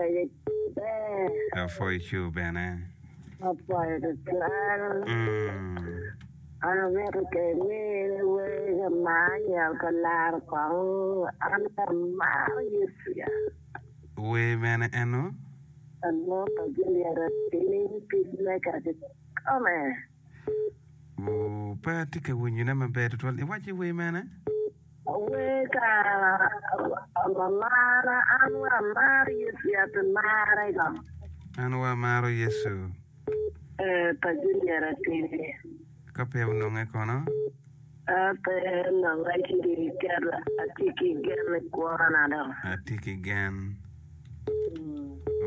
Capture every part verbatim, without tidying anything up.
Peje ber. Apwoyo cu bene. Apwoyo tutwal. Mm. An amito ke imine wer ka mar anyel ka laro kong an amaro Yecu ya. Wer mene eno? Alwongo pa Juliet Atini Peacemaker kikome. Oo, pe atye ka winyone maber tutwal. Iwaci wer mene? Wer ka mamana an wa amaro Yecu ya pi mare go. An wa amaro Yecu. Eh, pa Juliet Atini. Ka pe ononge kono? Ka pe ononge ci keto atye ki gen i kwona dong. Atye ki gen.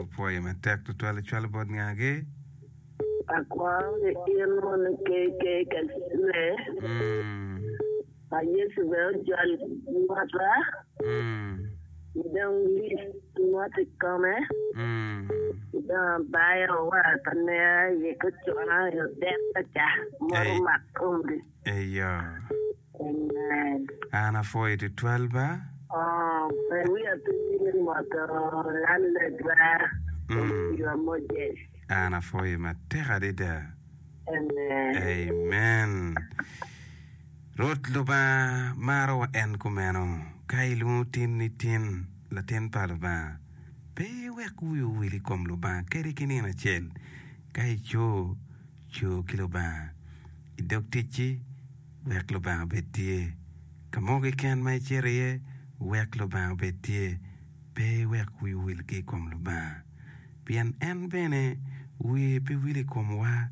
Opwoyo matek tutwal icwalo bot ngagi? Akwongo ki in mono KK Kacule. Mm. Pa Yecu bene ojol mota. Mm. Dong Liz mot i kome. Mm. Dong abayo wa pa nea i kocona i odek ca mot Ei. omak komgi. Eyo. Amen. An apwoyo tutwal ba. Oh, pe wiya pe wil moto landlordwa Mm. Opiwa Moses. An apwoyo matek adada. Amen. Amen. Rwot Lubanga marowa en kumeno. Ka ilwongo tin ni tin latin pa Lubanga, pe iwek wi owil i kom Lubanga kadi ki nino acel. Ka ico, co ki Lubanga. I dog ticci, wek Lubanga obed tye. Ka mo keken ma icito iye, wek Lubanga obed tye. Pe iwek wi owil ki i kom Lubanga, pien en bene wiye pe wil i komwa.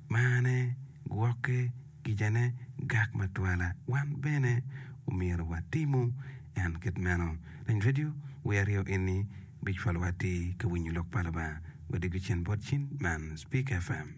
Marne, gwokke, kicane gak matwala. Wan bene omyero watimu en kit meno. Lany redio wi aryo eni bicwalowa atir ka winyo lok pa Lubanga. Wadiko cen bot cin man Speak FM.